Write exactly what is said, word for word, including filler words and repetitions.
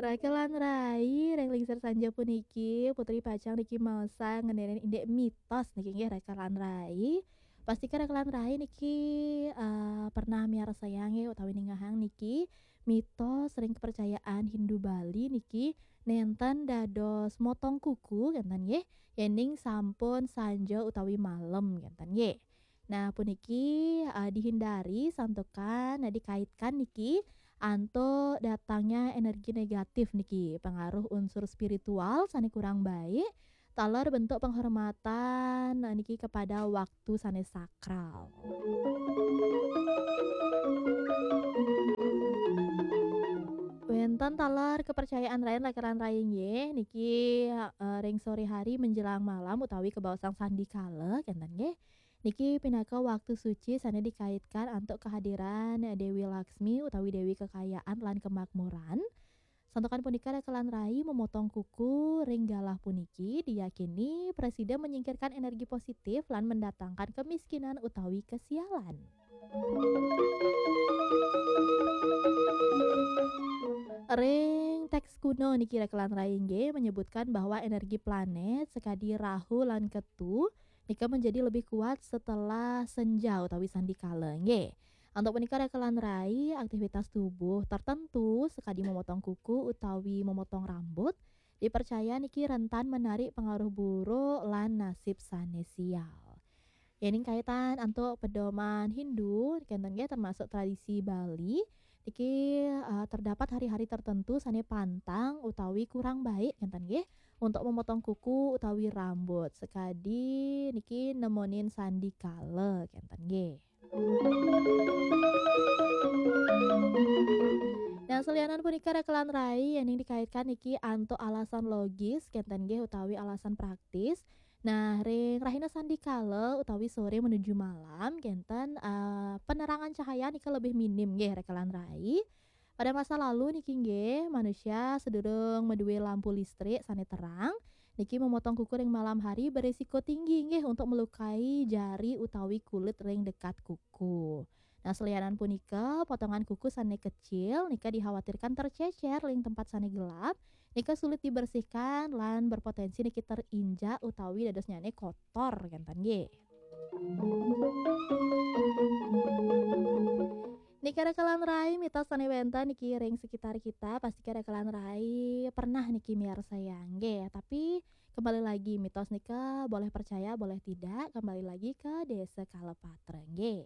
Rakelan rai, ring lingsir sanja puniki, Putri Pacang niki maosang ngeninin indik mitos niki nggih, Rakelan rai. Pastika Rakelan rai niki, eh, pernah miarsayang nggih utawi ningehang niki mitos ring kepercayaan Hindu Bali niki nenten dados motong kuku kenten nggih, yening sampun sanja utawi malem kenten nggih. Nah, puniki, eh, dihindari santukan, nah, dikaitkan niki antuk datangnya energi negatif niki, pengaruh unsur spiritual sane kurang baik, taler bentuk penghormatan, nah, niki kepada waktu sane sakral. Wenten taler kepercayaan rain Rakelan rai nggih, niki, eh, ring sore hari menjelang malam utawi kebaosang sandikala, kenten nggih. Niki pinaka waktu suci sane dikaitkan antuk kehadiran Dewi Laksmi utawi Dewi Kekayaan lan Kemakmuran. Santukan punika Rakelan rai memotong kuku ring galah puniki diyakini prasida menyingkirkan energi positif lan mendatangkan kemiskinan utawi kesialan. Ring teks kuno niki Rakelan rai nggih menyebutkan bahwa energi planet sekadi Rahu lan Ketu nika menjadi lebih kuat setelah senja utawi sandikala nggih. Antuk punika Rakelan rai, aktivitas tubuh tertentu sekadi memotong kuku utawi memotong rambut dipercaya niki rentan menarik pengaruh buruk lan nasib sane sial. Yening kaitan antuk pedoman Hindu, kenten nggih, termasuk tradisi Bali, niki, eh, terdapat hari-hari tertentu sane pantang utawi kurang baik kenten nggih untuk memotong kuku utawi rambut sekadi niki nemonin sandikala kenten nggih. Nah, selianan punika Rakelan rai yening dikaitkan niki antuk alasan logis kenten nggih utawi alasan praktis. Nah, ring rahina sandikala utawi sore menuju malam kenten, eh, penerangan cahaya nika lebih minim nggih Rakelan rai. Pada masa lalu niki nggih, manusia sedurung maduwe lampu listrik sane terang, niki memotong kuku ring malam hari berisiko tinggi nggih untuk melukai jari utawi kulit ring dekat kuku. Nah, selianan punika, potongan kuku sane kecil nika dikhawatirkan tercecer ring tempat sane gelap, nika sulit dibersihkan lan berpotensi niki terinjak utawi dadosnyane kotor kenten nggih. Nika Rakelan rai, mitos sane wenten niki ring sekitar kita, pastika Rakelan rai pernah niki miarsayang nggih. Tapi kembali lagi, mitos nika boleh percaya, boleh tidak, kembali lagi ke Desa Kalepatra nggih.